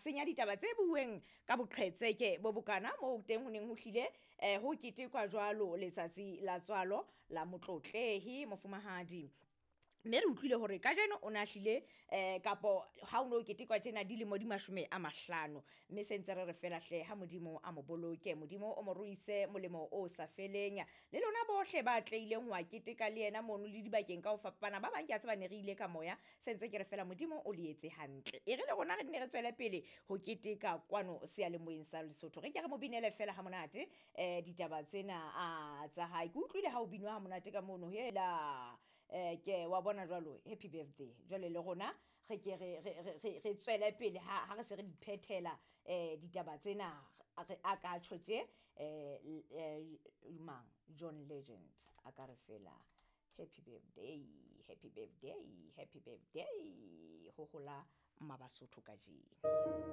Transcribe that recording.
senya ditaba tse bueng ka boqhetseke bo bokana moo teng ho neng ho hlile ho ketekwa jwalo letsatsi la tswalo la motlotlehi mofumahadi. Mme re utlwile hore kajeno o ne a hlile kapo ha o no ketekwa tjena dilemo di 50, mme se ntse re re fela hle ha Modimo a mo boloke, Modimo o mo ruise molemo o sa feleng. Le lona bohle ba tleileng ho a keteka le yena mono le dibakeng ka ho fapana, ba bang ke a tseba ne re ile ka moya, se ntse ke re fela Modimo o le etse hantle. E re le rona re nne re tswele pele ho keteka kwano seyalemoyeng sa Lesotho, re ke re mo binele fela ha monate ditaba tsena a tsa hae. Ke utlwile ha o binwa ha monate ka mono, hela ke wa bona jwalo, happy birthday. Jwale le rona re ke re tswele pele ha re se re di phethela ditaba tsena, a ka tjho tje mang John Legend a ka re fela happy birthday, happy birthday, happy birthday, ho hola Mabasotho kajeno.